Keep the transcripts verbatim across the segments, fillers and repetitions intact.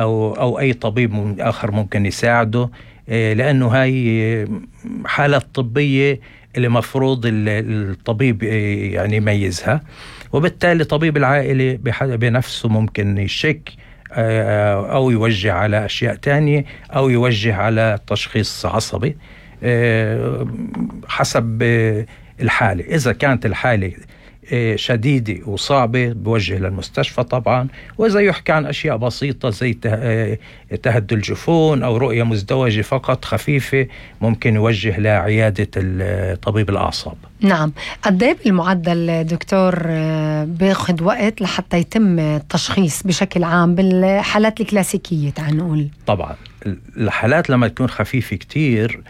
أو أو أي طبيب آخر ممكن يساعده، لأنه هاي حالة طبية اللي مفروض الطبيب يعني يميزها، وبالتالي طبيب العائلة بنفسه ممكن يشك أو يوجه على أشياء تانية أو يوجه على تشخيص عصبي حسب الحالة. إذا كانت الحالة شديدة وصعبة بوجه للمستشفى طبعا، وإذا يحكي عن أشياء بسيطة زي تهدل الجفون أو رؤية مزدوجة فقط خفيفة ممكن يوجه لعيادة طبيب الأعصاب. نعم. قد ايه بالمعدل دكتور بياخد وقت لحتى يتم التشخيص بشكل عام بالحالات الكلاسيكية تعال نقول؟ طبعا الحالات لما تكون خفيفة كتير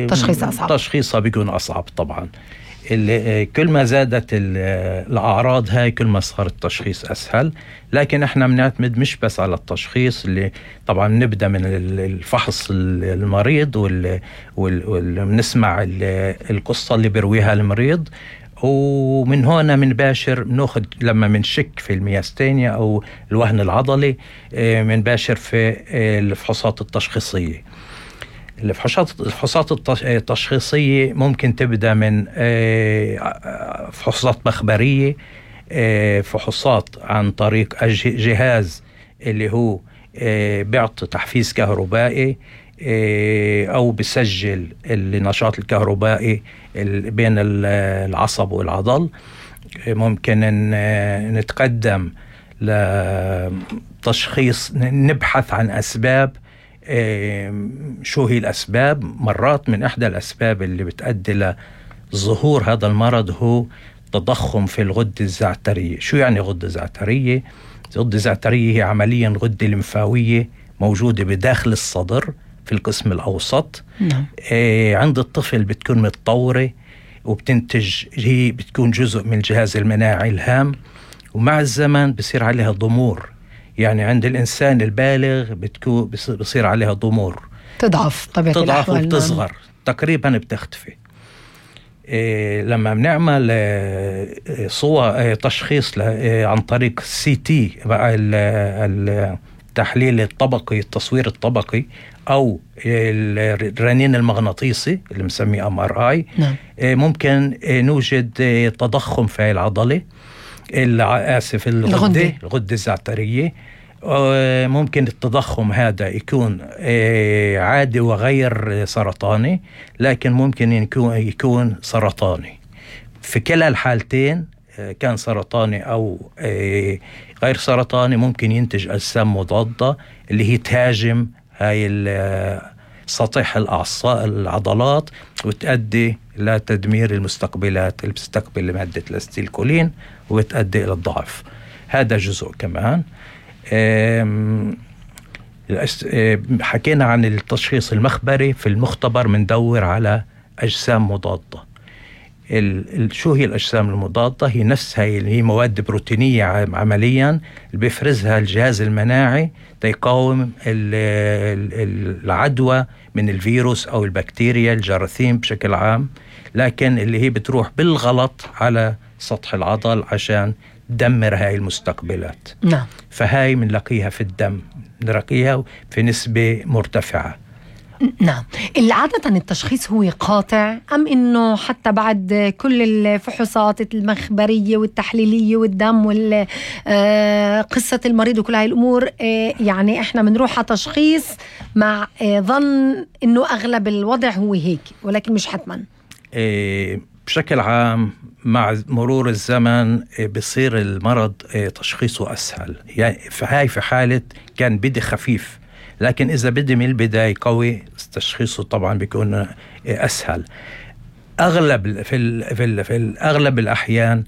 تشخيص أصعب، تشخيصها بيكون أصعب طبعا. كل ما زادت الأعراض هاي كل ما صار التشخيص أسهل، لكن احنا بنعتمد مش بس على التشخيص، اللي طبعا نبدأ من الفحص المريض ونسمع القصة اللي بيرويها المريض، ومن هنا منباشر بناخد لما منشك في المياستينيا أو الوهن العضلي منباشر في الفحوصات التشخيصية. الفحوصات التشخيصية ممكن تبدأ من فحوصات مخبرية، فحوصات عن طريق جهاز اللي هو بيعطي تحفيز كهربائي أو بيسجل النشاط الكهربائي بين العصب والعضل. ممكن نتقدم لتشخيص، نبحث عن أسباب. شو هي الأسباب؟ مرات من إحدى الأسباب اللي بتؤدي لظهور هذا المرض هو تضخم في الغدة الزعترية. شو يعني غدة زعترية؟ الغدة الزعترية هي عمليا غدة لمفاوية موجودة بداخل الصدر في القسم الأوسط. نعم. آه عند الطفل بتكون متطورة وبتنتج، هي بتكون جزء من الجهاز المناعي الهام، ومع الزمن بصير عليها ضمور. يعني عند الإنسان البالغ بتكون بصير عليها ضمور، تضعف طبيعة تضعف وبتصغر تقريبا بتختفي. إيه لما بنعمل إيه صور إيه تشخيص إيه عن طريق سي تي التحليل الطبقي، التصوير الطبقي، أو الرنين المغناطيسي اللي مسميه أم آر آي، نعم. إيه ممكن إيه نوجد إيه تضخم في العضلة، آسف الغدة الغدة الزعترية. ممكن التضخم هذا يكون عادي وغير سرطاني، لكن ممكن يكون يكون سرطاني. في كلا الحالتين كان سرطاني أو غير سرطاني ممكن ينتج أجسام مضادة اللي هي تهاجم هاي سطح الأعصاب العضلات وتؤدي لتدمير المستقبلات اللي بتستقبل مادة الأستيلكولين وتؤدي إلى الضعف. هذا جزء كمان. حكينا عن التشخيص المخبري. في المختبر مندور على أجسام مضادة. شو هي الأجسام المضادة؟ هي نفسها اللي هي مواد بروتينية عمليا اللي بيفرزها الجهاز المناعي تيقاوم العدوى من الفيروس أو البكتيريا الجراثيم بشكل عام، لكن اللي هي بتروح بالغلط على سطح العضل عشان تدمر هاي المستقبلات. نعم. فهاي منلاقيها في الدم، نلاقيها في نسبة مرتفعة. نعم. عادة التشخيص هو قاطع أم إنه حتى بعد كل الفحوصات المخبرية والتحليلية والدم والقصة المريض وكل هاي الأمور يعني إحنا منروح على تشخيص مع ظن إنه أغلب الوضع هو هيك، ولكن مش حتما؟ بشكل عام مع مرور الزمن بصير المرض تشخيصه أسهل. يعني فهاي في حالة كان بدي خفيف، لكن إذا بدي من البداية قوي تشخيصه طبعا بيكون أسهل. أغلب في ال في, ال في الأغلب الأحيان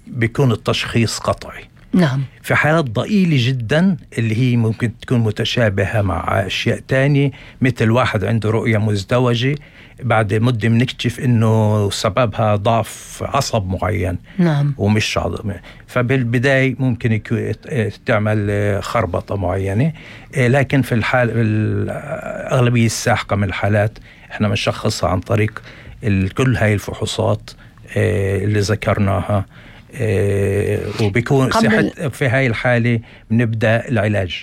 بيكون التشخيص قطعي. نعم. في حالات ضئيلة جدا اللي هي ممكن تكون متشابهة مع أشياء تانية، مثل واحد عنده رؤية مزدوجة بعد مدة بنكتشف إنه سببها ضعف عصب معين. نعم. ومش عظمة. فبالبداية ممكن يكون تعمل خربطة معينة، لكن في الحال الأغلبية الساحقة من الحالات إحنا بنشخصها عن طريق كل هاي الفحوصات اللي ذكرناها وبيكون صحة في هاي الحالة بنبدأ العلاج.